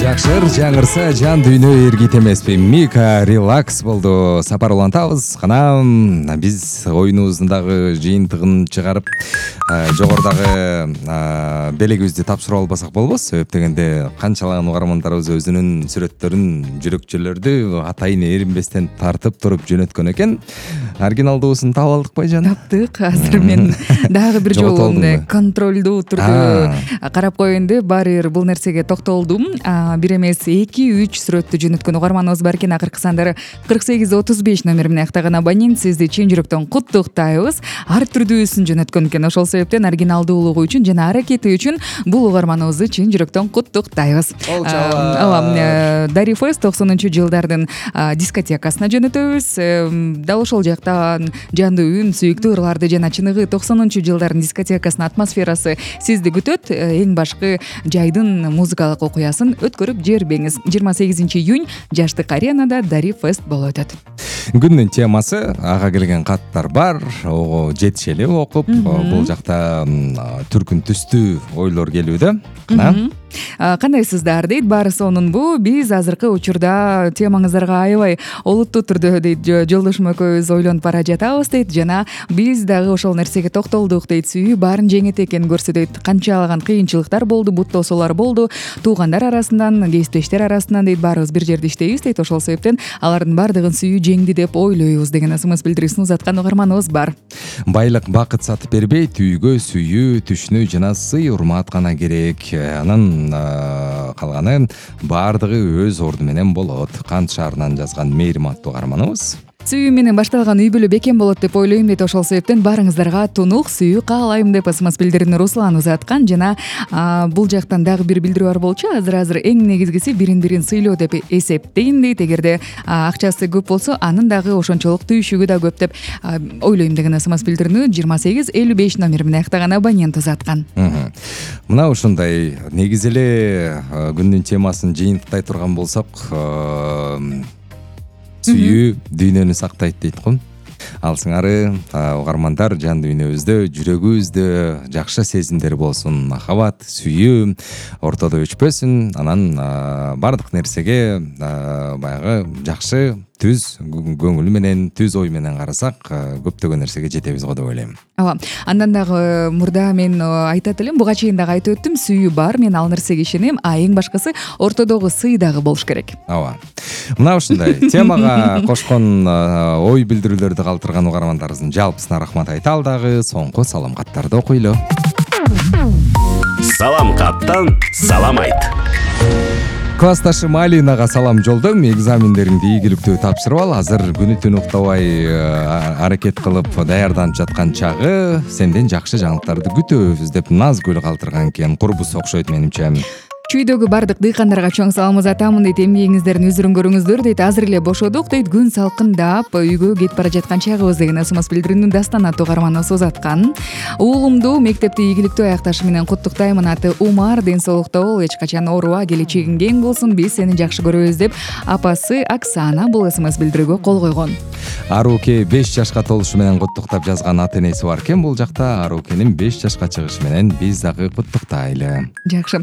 жакшыр жаңырса жан дүйнө эргит эмеспи. Мика релакс болду. Сапар улантабыз. Кана биз оюнубуздун дагы жыйынтыгын чыгарып, жогорудагы белегибизди тапшырып албасак болбос. Себеп дегенде канчалаган угармандарыбыз өзүнүн сүрөттөрүн, жүрөкчөлөрдү атайын эринбестен тартып туруп жөнөткөн экен. Оригиналдуусун таап алдык байжан. Таптык. Азыр мен дагы бир жолу контролдуу турдуу карап коеюн деп баары бир бул нерсеге токтолдум. Бир эмес 2-3 сүрөттү жөнөткөн угарманыбыз бар экен. Акыркы сандары 4835 номер менен актаган абонент. Сизди чын жүрөктөн куттуктайбыз. Ар түрдүүсүн жөнөткөн экен. Ошол себептен оригиналдуулугу үчүн жана аракети үчүн бул угарманыбызды чын жүрөктөн куттуктайбыз. Дари Фест 90-жылдардын дискотекасына жөнөтөбүз. Дал ошол жактан жандуу үн, сүйүктүү ырларды жана чыныгы 90-жылдардын дискотекасынын атмосферасы сизди күтөт. Эң башкы жайдын музыкалык окуясын өткөрүп жибербеңиз. 28 июнь Жаштык аренада Дари Фест болуп өтөт. Күндүн темасы ага келген каттар бар. Ого жетишели окуп, бул жакта түркүн түстүү ойлор келүүдө. Кандайсыздар дейт, баары сонунбу. Биз азыркы учурда темаңыздарга аябай олуттуу түрдө дейт, жолдошум экөөбүз ойлонуп бара жатабыз дейт, жана биз дагы ошол нерсеге токтолдук дейт. Сүйүү баарын жеңет экенин көрсөтөйт. Канчалаган кыйынчылыктар болду, бут тосуулар болду, туугандар арасынан, кесиптештер арасынан дейт, баарыбыз бир жерде иштейбиз дейт. Ошол себептен алардын баардыгын сүйүү жеңди деп ойлойбуз деген смс билдирүүсүн узаткан угарманыбыз бар. Байлык бакыт сатып бербейт, үйгө сүйүү, түшүнүү жана сый урмат гана керек. Анын калганы баардыгы өз орду менен болот. Кант шаарынан жазган Мээрим аттуу угарманыбыз. Сүйүү менен башталган үй бүлө бекем болот деп ойлойм дейт. Ошол себептен баарыңыздарга тунук сүйүү каалайм деп смс билдирүүнү Руслан узаткан. Жана бул жактан дагы бир билдирүү бар болчу. Азыр эң негизгиси бирин-бирин сыйлоо деп эсептейм дейт. Эгерде акчасы көп болсо, анын дагы ошончолук түйшүгү да көп деп ойлойм деген смс билдирүүнү 2855 номер менен актаган абонент узаткан. Мына ушундай негизи эле күндүн темасын жыйынтыктай турган болсок, сүйүү дүйнөнү сактайт дейт го. Ал сыңары угармандар жан дүйнөбүздө, жүрөгүбүздө жакшы сезимдер болсун, махабат, сүйүү ортодо өчпөсүн. Анан бардык нерсеге баягы жакшы түз көңүл менен, түз ой менен карасак, көптөгөн нерсеге жетебиз го деп ойлойм. Ооба. Андан дагы мурда мен айтат элем, буга чейин дагы айтып өттүм, сүйүү бар, мен ал нерсеге ишенем, эң башкысы ортодогу сый дагы болуш керек. Ооба. Мына ушундай темага кошкон ой билдирүүлөрдү калтырган угармандарыбыздын жалпысына рахмат айталы дагы. Соңку салам каттарды окуйлу. Салам каттан салам айт. Классташым Алинага салам жолдойм. Экзамендериңди ийгиликтүү тапшырып ал. Азыр күнү түн уктабай аракет кылып даярданып жаткан чагы. Сенден жакшы жаңылыктарды күтөбүз деп назгүл калтырган экен. Курбус окшойт менимче. Чүйдөгү бардык дыйкандарга чоң салам узатамын дейт. Эмгегиңиздерин үзүрүн көрүңүздөр дейт. Азыр эле бошодук дейт. Күн салкындап, үйгө кетип бара жаткан чагыбыз деген смс билдирүүнү Дастан аттуу угарманыбыз узаткан. Уулумду мектепти ийгиликтүү аякташы менен куттуктаймын. Аты Умар, ден соолукта бол, эч качан ооруба, келечегиң кең болсун. Биз сени жакшы көрөбүз деп апасы Оксана бул смс билдирүүгө кол койгон. Аруке 5 жашка толушу менен куттуктап жазган ата энеси бар экен. Бул жакта Арукенин 5 жашка чыгышы менен биз дагы куттуктайлы. Жакшы.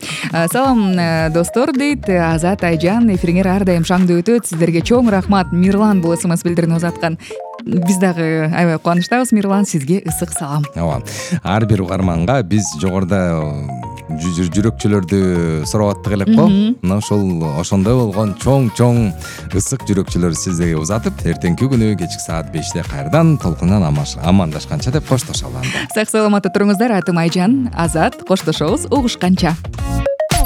Салам достор дейт. Азат Айжан, эфириңер ар дайым шаңдуу өтөт. Сиздерге чоң рахмат. Мирлан бул смс билдирүүнү узаткан. Биз дагы аябай кубанычтабыз. Мирлан, сизге ысык салам. Ооба. Ар бир угарманга биз жогоруда жүрөкчөлөрдү сурап аттык элек го. Мына ошондой болгон чоң ысык жүрөкчөлөр сиздерге узатып, эртеңки күнү кечки саат 5-те кайрадан толкундан амандашканча деп коштошолу анда. Сак саламатта туруңуздар. Атым Айжан, Азат, коштошобуз угушканча.